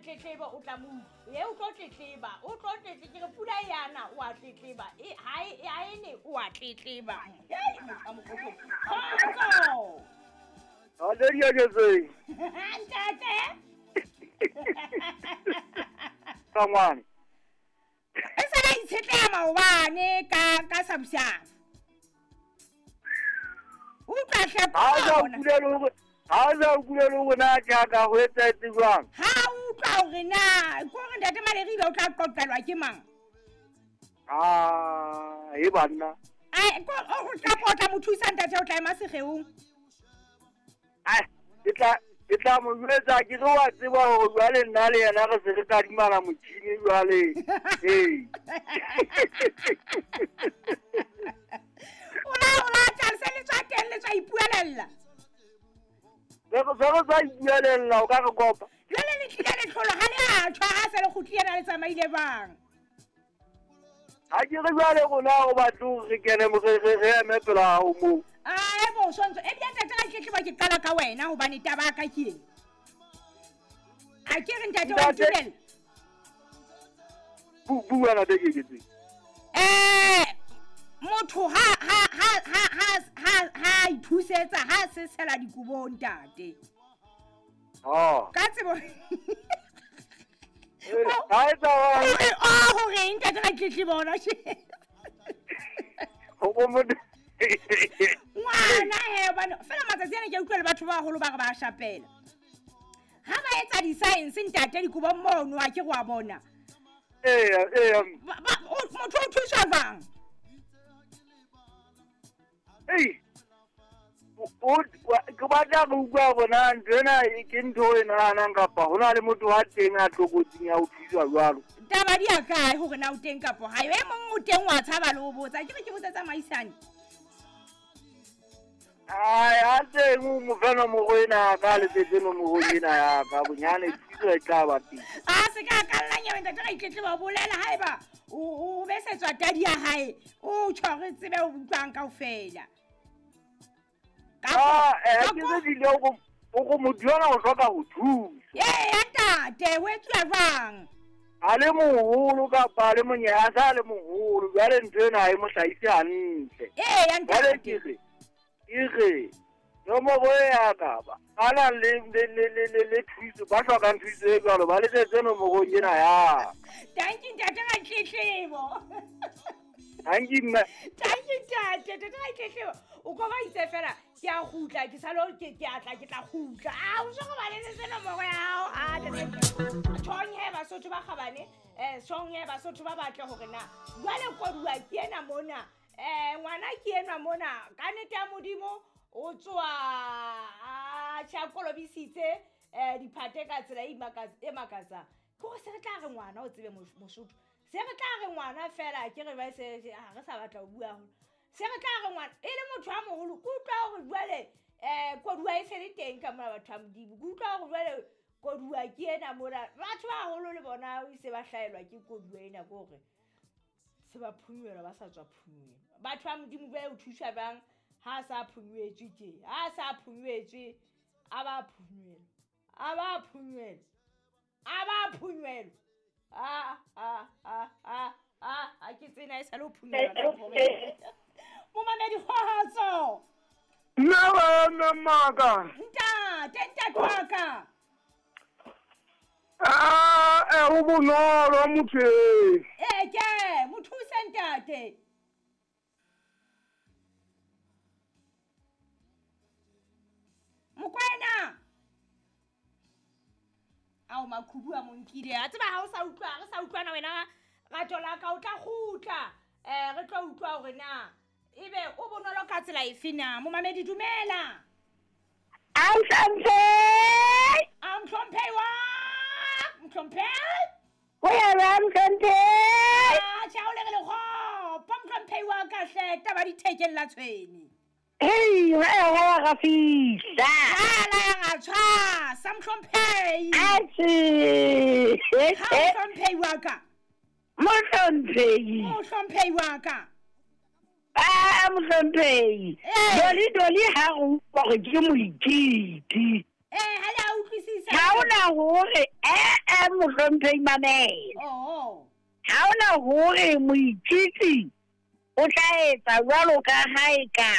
tletlebo o tla mo utlwa. E o tlo tletleba, o tlo tletle ke re pula e yana o a tletleba. E ha e ha e ne o a tletleba. Hei motho a mokgokgo. Kgotso. Ade Diaketseng. Ntate. Ka ngwana. E sa la itshetleha maobane ka ka sabusabu. Utlwa hle Ha o sa bona. utlwile hore ha o sa utlwile hore na ke a ka ho etsahetse jwang? Ha utlwa hore na ke hore ntate Maleribe o tla qoqelwa ke mang? Ah, e banna. Ai, ko o tla potla mo thusa ntate o tla ema segeong. Ai, ke tla mo jwetsa ke re wa tseba hore jwale nna le yena re se re kadimana motjhini jwale. Ee. O la tla se le tswa teng le tswa ipuelella. Se re sa ipuelella o ka re kopa. Jwale le tlile le tlholo ha le a tjhwa ha se le kgutlile na le tsamaile bang. Ha ke re jwale rona o batle hore re kene mo re eme pela hao moo. Ah, e bo sontso e bile ntate ga tletleba ke qala ka wena hobane taba ya ka ke eng? Ha ke re ntate wa Ntate- ntumella. Bua na te Keketseng. Motho ha ithusetsa ha se sela dikobong ntate. Ah. Ka tsebo. Ha etsa wa O hore ntate ga tletleba ona tjhe. ho motho. Ngwana he bana fela matsatsi ana ke utlwa le batho ba baholo ba re ba shapela. Ha ba etsa di-science ntate dikobong mono a ke go a bona. Eya, eya. Motho o thuswa jwang? Ei. Ke batla go utlwa hore na ntho ena ke ntho e nahanang kapa ho na le motho wa teng a tlokotsing ya ho thuswa jwalo. Taba di a kae hore na o teng kapo ha e mong o teng wa tshaba le ho botsa. Ke re ke botsetsa maisane. Ai, a teng o mo fe nomoro ena ya ka, a letsetse nomoro ena ya ka, bonyane thuso e tla ba teng. A se ka ka lla nyewe ntate ga itletleba bolela haeba o besetswa tadi ya hae o tjho re tsebe o utlwang kaofela. Ah, ke se dile hore motho yona o hloka ho thuswa. Ee, ntate, ho etsuwa jwang? A le moholo kapa a le monyane, a sa le moholo, jwale ntho ena ha e mo hlahise hantle. Ee, Jwale ntate. ke re nomoro e ya ka ba a na le thuso, ba hlokang thuso e jwalo ba letsetse nomorong ena ya ka. Thank you ntate ga tletlebo. Thank you mme. Thank you ntate, ntate ga tletlebo. O ko ba itse fela ke a kgutla ke salo ke a tla ke tla kgutla. Ah, o so go ba letsetse nomoro ya hao. Ah, ntate. Tjhong he Basotho ba kgabane, tjhong he Basotho ba batle hore na jwale koduwa ke ena mona. Ngwana ke enwa mona ka nnete ya Modimo o tswa a tjha kolobisitse diphate ka tsela e makatsang. Ke hore se re tla re ngwana o tsebe Mosotho. Se re tla re ngwana fela ke re ba se ha re sa batla ho bua haholo. Se re tla re ngwana e le motho a moholo ke utlwa hore jwale koduwa e se le teng ka mona batho ba Modimo. Ke utlwa hore jwale koduwa ke ena mona. Batho ba baholo le bona e se ba hlahelwa ke koduwa ena ke hore se ba phunywelwa ba sa tswa phunywelwa. Batho ba Modimo jwale o thuswa jwang ha sa phunywetswe tje? Ha sa phunywetswe a ba phunywelwa. A ba phunywelwa. A ba phunywelwa. Ah ah ah ah ah a ke tsena e sa le ho phunywelwa ka hore. Momamedi kgotso. Nna wena maka. Ntate, ntate wa ka. Ah, o bonolo motho e. Ee, ke mo thuse ntate. Mokwena. Ao makhubu a mo nkile. A tseba ha o sa utlwa, re sa utlwana wena rato la ka o tla kgutla. Re tlo utlwa hore na ebe o bonolo ka tsela efe na. Momamedi dumela. A mhlomphehi. A mhlomphehi wa. Mhlomphehi. Ho ya ba mhlomphehi. Ah, tjha o le re le kgopo mhlomphehi wa ka hle taba di thekeng la tshwene. Hei, ha ya ha ga fihla. Ha la ya ga tshwasa mhlomphehi. Atjhe. Ha mhlomphehi wa ka. Mhlomphehi. Mhlomphehi wa ka. Ah, mhlomphehi. Ee. Doli doli ha go utlwa hore ke moititi. Eh, ha le a utlwisisa. Ha hona hore ee mohlomphehi mamela. Oh. Ha hona hore moitshitsi o tla etsa jwalo ka ha e ka.